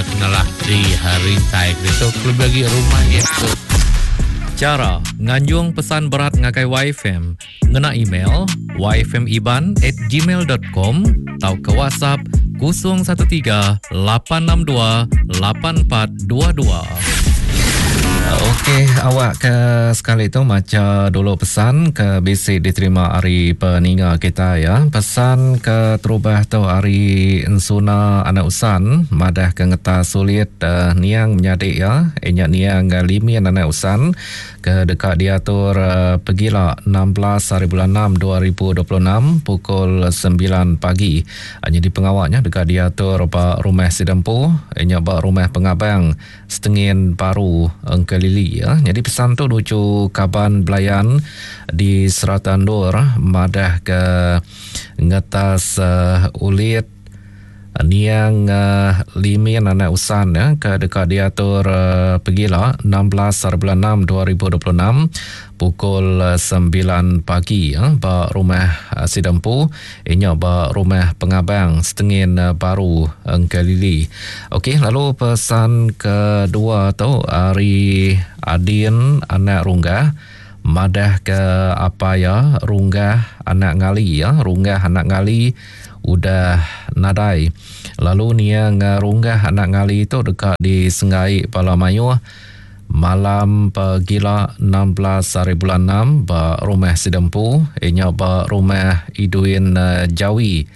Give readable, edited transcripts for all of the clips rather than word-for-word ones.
iya ke nalah di rintai ke ditu kelebih agi rumah iya tu. Chara nganjung pesan berat ngagai YFM ngena email yfmiban at gmail dot com tauka WhatsApp 013 862 8422. Okey, awak ke sekali tu macha dulu pesan ke bisi diterima ari peninga kita ya. Pesan ke terubah tu ari Ensuna Anak Usan madah ke ngetas sulit uh, niang menyadi ya, inya niang Limin Anak Usan ke deka diatur pegila 16 hari bulan 6 2026 pukul 9 pagi. Nyadi pengawa nya deka diatur ba Rumah Sidempu, nya ba Rumah Pengabang, Setengin Baru, Engkelili. Nyadi pesan tu nuju kaban belayan di serata endur madah ke ngetas ulit Niang Limin anak Usan ke deka diatur pegila 16 hari bulan 6 2026 pukul 9 pagi ba rumah sida empu inya ba rumah pengabang Setengin Baru Engkelili. Okey lalu pesan kedua tu ari Adin anak Runggah madah ke apai iya Runggah anak Ngali ya Runggah anak Ngali udah nadai lalu niang Runggah anak Ngali tu deka disenggai bala mayuh malam pegila 16 hari bulan 6 ba rumah sida empu iya nya ba rumah Idwin Jawi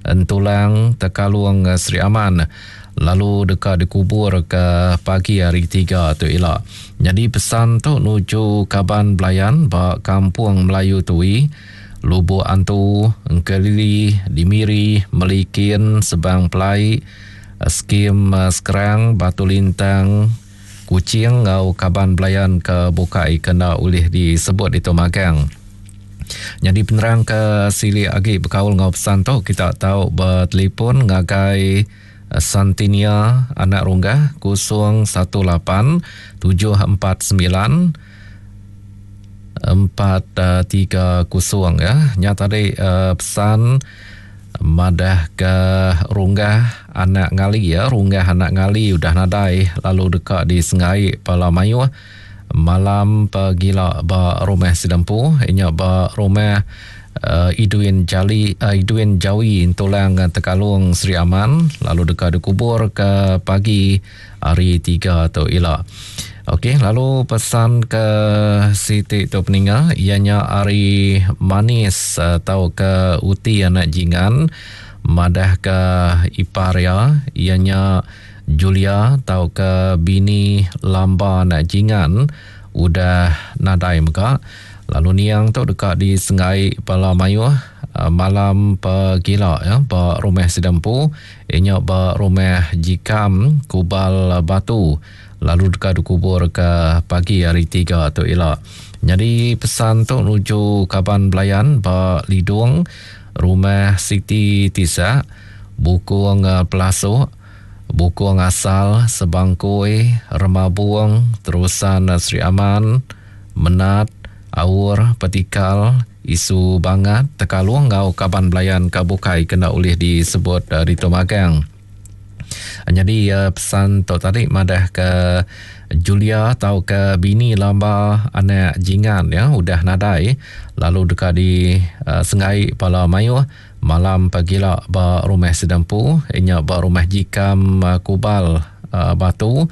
Entulang Tekalung Sri Aman lalu deka dikubur ke pagi hari tiga tu ila. Nyadi pesan tu nuju kaban belayan ba Kampung Melayu Tui Lubok Antu, Engkelili, di Miri, Melikin, Sebang Pelai, Skim Skrang, Batu Lintang, Kuching enggau kaban belayan ke bukai ke enda ulih disebut ditu magang. Nyadi penerang ke silik agi bekaul enggau pesan tu kita tau betelefon ngagai Santinia Anak Runggah 018 749 430 ya. Nya tadi uh, pesan madah ke runggah anak ngali ya, runggah anak ngali udah nadai lalu deka disengai pala mayuh malam pegila ba rumah sidempu inya ba rumah uh, Idwin Jali uh, Idwin Jawi Tulang Tekalung Sri Aman lalu deka dikubur ke pagi hari 3 tu ila. Okey, lalu pesan ke siti tu peninga iya nya ari Manis atau ke Uti anak Jingan madah ke ipar iya iya nya Julia tau ke bini Lamba anak Jingan udah nadai mega lalu niang tu deka disenggai bala mayuh malam pegila ya ba rumah sida empu Iya nya ba Rumah Jikam, Kubal Batu lalu deka dikubur ke pagi hari Tiga tu ila. Nyadi pesan tu nuju kaban belayan ba Lidong, Rumah Siti Tisak, Bukong Pelasok, Bukong Asal, Sebangkoi, Remabong, Terusan Sri Aman, Menat, Aur, Petikal, Isu bangat tekalung enggau kaban belayan ke bukai ke enda ulih disebut ditu magang. Nyadi pesan tu tadi madah ke Julia tauka bini lamba anak Jingan ya udah nadai lalu deka di senggai bala mayuh malam pagila ba rumah sida empu inya ba rumah Jikam Kubal Batu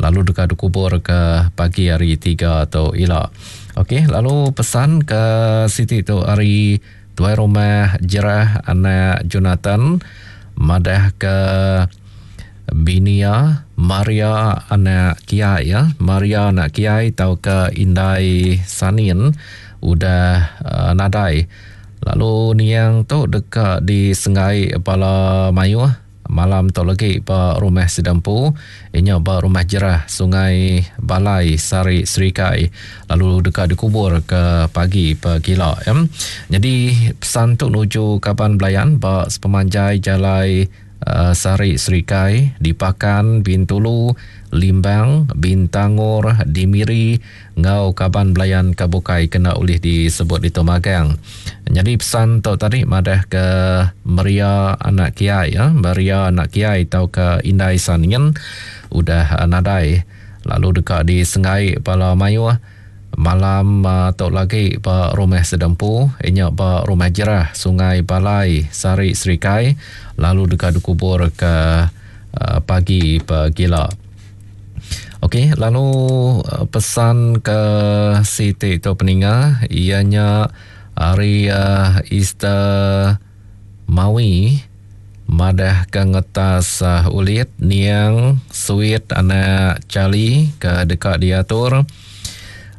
lalu deka dikubur ke pagi hari tiga tu ila. Okey, lalu pesan ke siti tu ari Tuai Rumah Jerah anak Jonathan madah ke bini iya Maria anak Kiai ya, Maria anak Kiai tauka Indai Sanin udah uh, nadai. Lalu niang tu deka disenggai bala mayuh Malam tu legi ba rumah sida empu inya ba Rumah Jerah Sungai Balai Sari Serikai lalu deka dikubur ke pagi pegila. Nyadi pesan tu nuju kaban belayan ba sepemanjai jalai Sari Serikai, di Pakan, Bintulu, Limbang, Bintangor, di Miri enggau kaban belayan ke bukai kena ulih disebut ditu magang. Nyadi pesan tu tadi madah ke Maria anak Kiai, Maria anak Kiai tauka Indai Sanin udah nadai lalu deka disenggai bala mayuh Malam tu lagi ba Rumah Sedempu inya ba Rumah Jerah Sungai Balai Sari Serikai lalu deka dikubur ke pagi pegila. Okey lalu pesan ke siti tu peninga iya nya ari Easter Mawi madah ke ngetas ulit niang Suit anak Charlie ke deka diatur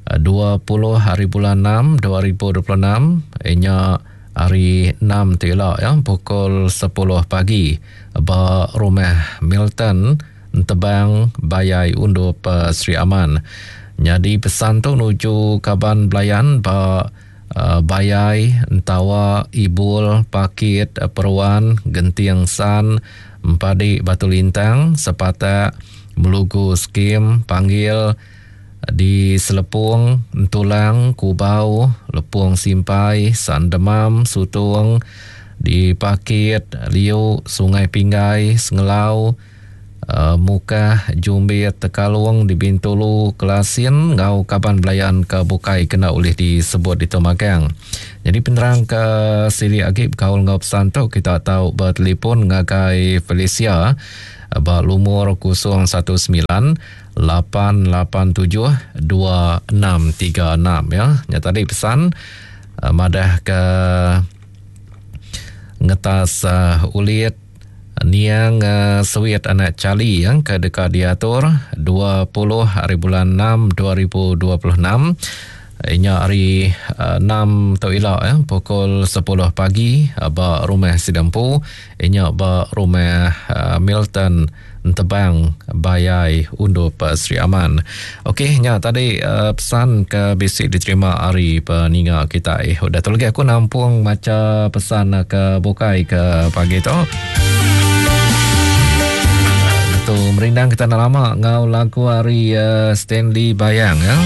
20 hari bulan 6 2026 inya hari 6 ti ila ya pukul 10 pagi ba rumah Milton Entebang Bayai Undup Sri Aman. Nyadi pesan tu nuju kaban belayan ba Bayai, Entawa, Ibul, Pakit, Peruan, Genting San, Empadi Batu Lintang, Sepatak, Melugu Skim, Panggil, di Selepong, Entulang, Kubau, Lepong Simpai, San Demam, Sutong, di Pakit, Liu, Sungai Pinggai, Sengelau, Mukah, Jumbit, Tekalong, di Bintulu, Kelasin enggau kaban belayan ke bukai kena ulih disebut ditu magang. Nyadi penerang ke silik agi bekaul enggau pesan tu kita tau betelefon ngagai Felicia ba lumur 019 887 2636 ya. Nya tadi pesan madah ke ngetas ulit niang Sewit anak Charlie ya, ke deka diatur 20 hari bulan 6 2026 inya hari 6 tu ila ya, pukul 10 pagi ba rumah Sidempu inya ba rumah Milton Entebang Bayai Undup Sri Aman. Okey nya tadi uh, pesan ke bisi diterima ari peninga kitai. Udah tu lagi aku nampung macha pesan ke bukai ke pagi tu. Tu merindang kita enda lama ngau lagu ari uh, Stanley Bayang ya.